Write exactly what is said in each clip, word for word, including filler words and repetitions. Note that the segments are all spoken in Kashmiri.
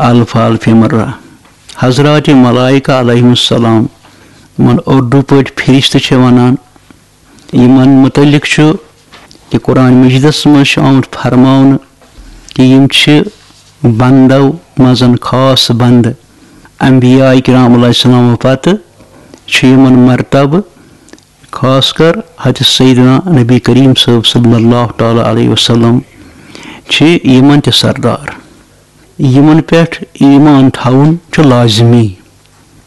الف الف مرہ۔ حضرات ملائکہ علیہم السلام، یِمن اردو پٲٹھۍ فرشتہٕ چھِ ونان، یِمن متعلق چھُ یہِ قرآن مجیدس منٛز چھُ آمُت فرماونہٕ کہِ یِم چھِ بندو منٛز خاص بندٕ۔ انبیاء کرام علیہ السلام پتہٕ چھُ یِمن مرتبہٕ، خاص کر حضرت سیدنا نبی کریم صٲب صلی اللہ تعالیٰ علیہ وسلم چھِ یِمن تہِ سردار۔ یِمن پٮ۪ٹھ ایمان تھاوُن چھُ لازمی۔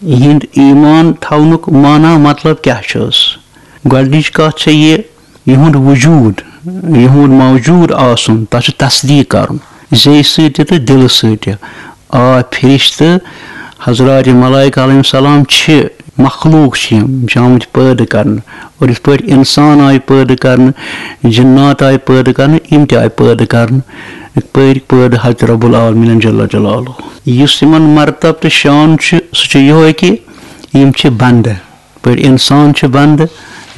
یِہُنٛد ایمان تھاونُک معنی، مطلب کیٛاہ چھُس؟ گۄڈٕنِچ کتھ چھےٚ یہِ، یِہُنٛد وجوٗد، یِہُنٛد موجوٗد آسُن، تَتھ چھُ تصدیٖق کرُن زیٚیہِ سۭتۍ تہِ تہٕ دِلہٕ سۭتۍ تہِ۔ آ، فرشتہٕ، حضرات ملائکہ علیہم السلام چھِ، مخلوق چھِ یِم، یِم چھِ آمٕتۍ پٲدٕ کرنہٕ۔ اور یِتھ پٲٹھۍ اِنسان آیہِ پٲدٕ کرنہٕ، جِنات آیہِ پٲدٕ کرنہٕ، یِم تہِ آیہِ پٲدٕ کرنہٕ۔ یِتھ پٲٹھۍ پٲدٕ حضرت رب العالمین جل جلالہ۔ یُس یِمن مرتب تہٕ شان چھُ، سُہ چھُ یِہوٚے کہِ یِم چھِ بندٕ۔ یِتھ پٲٹھۍ اِنسان چھِ بندٕ،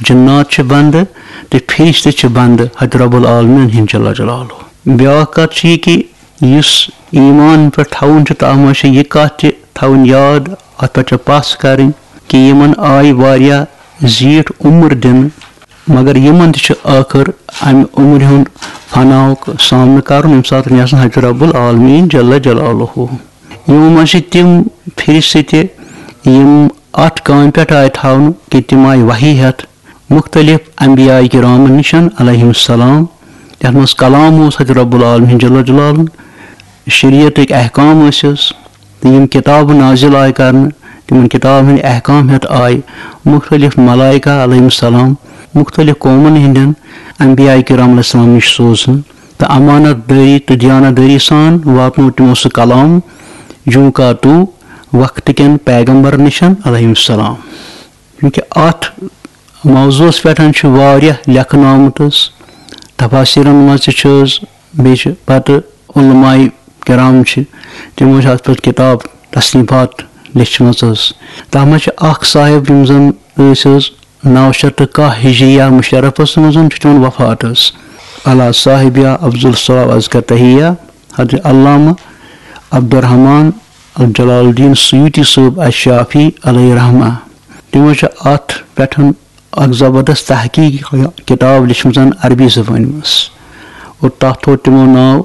جِنات چھِ بندٕ، تہٕ فرشتہٕ چھِ بندٕ حضرت رب العالمین ہِنٛدۍ جل جلالہ۔ بیٛاکھ کتھ چھِ یہِ کہِ یُس ایمان پٮ۪ٹھ تھاوُن چھُ، تَتھ منٛز چھِ یہِ کَتھ تہِ تھاوٕنۍ یاد، اَتھ پٮ۪ٹھ چھِ پَژھ کَرٕنۍ کہِ یِمَن آیہِ واریاہ زیٖٹھ عمر دِنہٕ، مگر یِمَن تہِ چھُ ٲخٕر اَمہِ عمرِ ہُنٛد فناہُک سامنہٕ کَرُن، ییٚمہِ ساتہٕ یَژھَن حضرت رب العالمین جل جلالہ۔ یِمو منٛز چھِ تِم فرشتہٕ تہِ، یِم اَتھ کامہِ پٮ۪ٹھ آیہِ تھاونہٕ کہِ تِم آیہِ وحی ہٮ۪تھ مختلف انبیاء کرامن نِشن علیہم السلام، یَتھ منٛز کلام اوس حضرت رب العالمین جل جلالہ، شریعتٕکۍ احکام ٲسِس، تہٕ یِم کِتابہٕ نازل آیہِ کرنہٕ، تِمن کِتابن ہٕنٛدۍ احکام ہٮ۪تھ آیہِ مختلف ملائکہ علیہم السلام مختلف قومن ہٕنٛدٮ۪ن انبیاء کرام علیہ السلام نِش سوزنہٕ، تہٕ امانت دٲری تہٕ دیانت دٲری سان واتنوو تِمو سُہ کلام جوں کا تو وقت کٮ۪ن پیغمبرن نِشن علیہم السلام۔ چونکہ اتھ موضوعس پٮ۪ٹھ چھُ واریاہ لیکھنہٕ آمُت حظ۔ تفاسیرن منٛز تہِ چھُ حظ، بیٚیہِ چھِ پتہٕ علماء کرام چھِ، تِمو چھِ اتھ پٮ۪ٹھ کتاب تصنیفات لیچھمٕژ حظ۔ تتھ منٛز چھِ اکھ صاحب، یِم زن ٲسۍ حظ نو شیٚتھ تہٕ کاہ ہجریہ مشرفس منٛز چھُ تِمن وفات حظ۔ علی صاحبہ افضل الصلاۃ و ازکی التحیہ، حضرت علامہ عبدالرحمان جلال الدین سیوطی صٲب الشافعی علیہ رحمہ۔ تِمو چھِ اتھ پٮ۪ٹھ اکھ زبردست تحقیق کتاب لیچھمٕژ عربی زبٲنۍ منٛز، اور تتھ تھوٚو تِمو ناو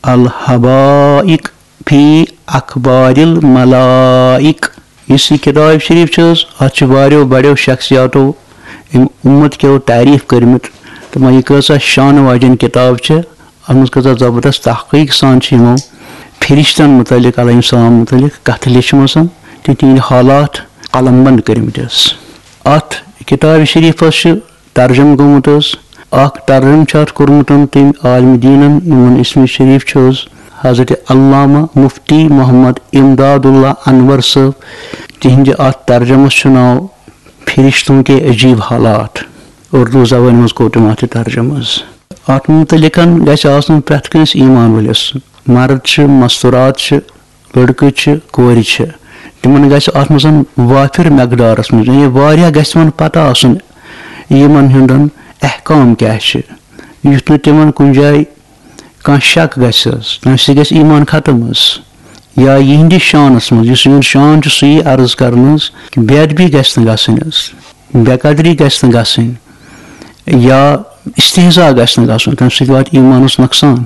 الحبائق فی اخبار الملائک۔ یُس یہِ کتاب شریف چھِ حظ، اتھ چھِ واریاہو بڑیو شخصیاتو امہِ امت کیو تعریف کٔرمٕتۍ۔ تِمو یہِ کۭژاہ شانہٕ واجٮ۪ن کتاب چھِ، اتھ منٛز کۭژاہ زبردست تحقیق سان چھِ یِمو فرشتن متعلق، علیہم السلام متعلق کتھٕ لیچھمٕژ تہٕ تِہنٛدۍ حالات قلم بند کٔرمٕتۍ حظ۔ اتھ کتابہِ شریفس چھُ ترجمہٕ گوٚمُت حظ۔ اکھ ترجمہٕ چھُ اتھ کوٚرمُت تٔمۍ عالم دیٖنن، یِمن اسمِ شریف چھُ حظ حضرت علامہ مفتی محمد امداد اللہ انور صٲب۔ تِہنٛدِ اتھ ترجمس چھُ ناو فرشتوں کے عجیب حالات۔ اردو زبٲنۍ منٛز کوٚر تٔمۍ اتھ یہِ ترجمہٕ حظ۔ اتھ متعلقن گژھِ آسُن پرٛٮ۪تھ کٲنٛسہِ ایمان وٲلِس، مرد چھِ، مستورات چھِ، لڑکہٕ چھِ، کورِ چھِ، تِمن گژھِ اتھ منٛز وافر مقدارس منٛز، یعنی واریاہ گژھِ تِمن پتہ آسُن یِمن ہُنٛدن احکام کیٛاہ چھِ، یُتھ نہٕ تِمن کُنہِ جایہِ کانٛہہ شک گژھِ حظ، تمہِ سۭتۍ گژھِ ایمان ختم حظ۔ یا یِہنٛدِس شانس منٛز، یُس یِہُنٛد شان چھُ، سُہ یی عرض کرنہٕ حظ، کہِ بے ادبی گژھِ نہٕ گژھٕنۍ حظ، بے قدری گژھِ نہٕ گژھٕنۍ، یا استہزا گژھِ نہٕ گژھُن، تمہِ سۭتۍ واتہِ ایمانس نۄقصان۔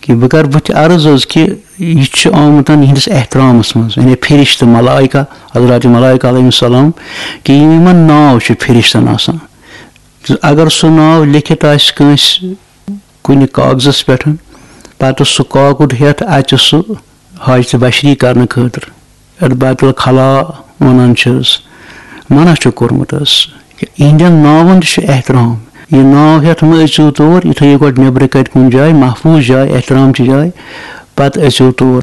کہِ بہٕ کرٕ بٕتھِ عرض حظ کہِ یہِ چھُ آمُت یِہنٛدِس احترامس منٛز، یعنی فرشتہٕ ملائکہ، حضرات ملائکہ علیہم السلام، کہِ یِمن ناو چھُ فرشتن آسان۔ تہٕ اگر سُہ ناو لیکھِتھ آسہِ کٲنٛسہِ کُنہِ کاغذس پٮ۪ٹھ، پتہٕ سُہ کاکُد ہٮ۪تھ اَژِ سُہ حاجتہِ بشری کرنہٕ خٲطرٕ، یَتھ بیت الخلا وَنان چھِس، منع چھُ کوٚرمُت حظ۔ یِہنٛدٮ۪ن ناوَن تہِ چھُ احترام۔ یہِ ناو ہٮ۪تھ مہٕ أژِو تور، یہِ تھٲیِو گۄڈٕ نیٚبرٕ کَنہِ کُنہِ جایہِ، محفوٗظ جایہِ، احترام چہِ جایہِ، پتہٕ أژِو تور۔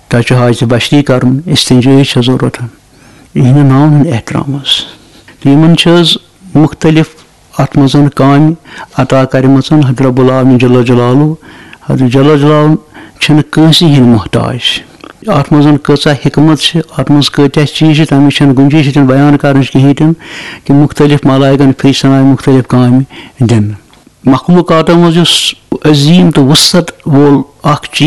تۄہہِ چھُ حاجتہِ بشری کرُن، استنجٲیی چھےٚ ضروٗرت۔ یِہنٛدٮ۪ن ناوَن ہُنٛد احترام حظ۔ تہٕ یِمن چھِ حظ مُختٔلِف اَتھ منٛز کامہِ عطا کَرِمَژَن حضرت رب العالمین جل جلالہ۔ حضرت جل جلالہ چھِنہٕ کٲنٛسہِ ہِنٛدۍ محتاج۔ اَتھ منٛز کۭژاہ حکمت چھِ، اَتھ منٛز کۭتیٛاہ چیٖز چھِ، تَمِچ چھَنہٕ گُنجٲیِش ییٚتٮ۪ن بیان کَرنٕچ کِہیٖنۍ تہِ نہٕ، کہِ مُختٔلِف ملائکن فرشتن آیہِ مُختٔلِف کامہِ دِنہٕ۔ مخلوقاتو منٛز یُس عظیٖم تہٕ وُسعت وول اَکھ چیٖز